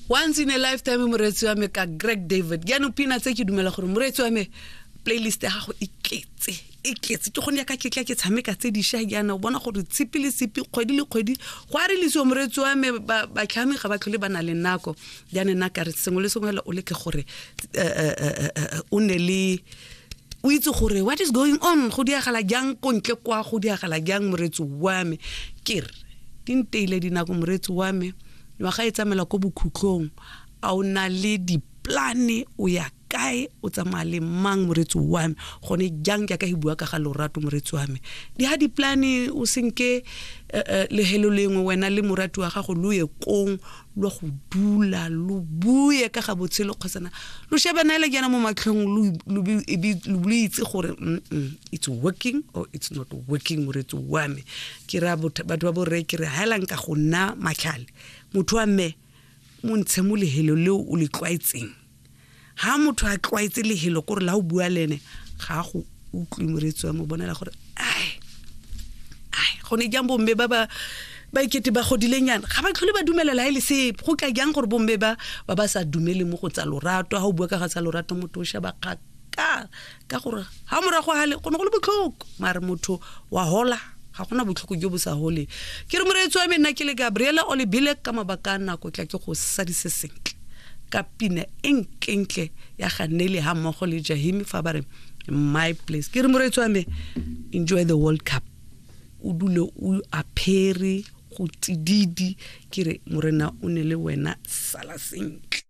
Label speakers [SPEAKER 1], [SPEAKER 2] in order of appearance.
[SPEAKER 1] Once in a lifetime, moreetsi wa me, ka Greg David. Jaanong pina tse ke dumela gore, moreetsi wa me, playlist ya gago e tletse, e tletse. Ke gone yaka ke tla ke tshameka tse dišwa jaana, o bona gore tshipi le tshipi, kgwedi le kgwedi go a relisiwa. Moreetsi wa me, batlhami ga ba tlhole ba na le nako jaanong. Nna kare sengwe le sengwe o leke gore o ne le o itse gore what is going on, go diagala jang ko ntle kwa, go diagala jang. Moreetsi wa me, ke re di nteile dinako. Moreetsi wa me, ngwaga e tsamela ko bokhutlong, a o na le diplane? O ya kae? O tsamaya le mang? Moreetsi wa me, gone jang jaaka e bua ka ga lorato, moreetsi wa me, di ha diplane, o senke lehelo lengwe wena le morati wa gago, lo ye kong lo go dula, lo bue ka ga botshelo, kgotsana lo shebana le jaana mo matlhong, lo itse gore it's working or it's not working. Moreetsi wa me, ke ra batho ba borre, ke re haelang ka go nna matlhale. Motho wa mme, mo ntshe mo lehelo leo o le tlwaetseng. Ha motho a tlwaetse lehelo, kore la o bua le ene ga a go utlwe. Moreetsi wa mo, bonela gore ai ai, gone jang bomme ba ba ba ikete ba godilenyana ga ba tlhole ba dumelela e le sepe. Go tla jang gore bomme ba ba ba sa dumele mo go tsa lorato? Ha o bua ka ga tsa lorato, motho o sheba kgakala, ka gore ga morago gale go ne go le botlhoko, mare motho wa hola, ga gona botlhoko jo bo sa holeng. Ke re, moreetsi wa me, nna ke le Gabriela Olebile, ka mabaka a nako tla ke go sadise sentle ka pina e ntlentle ya ganele ga mmogo le Jahimi fa ba re "My Place". Ke re, moreetsi wa me, enjoy the World Cup, o dule o apere go tsididi. Ke re morena o ne le wena, sala sentle.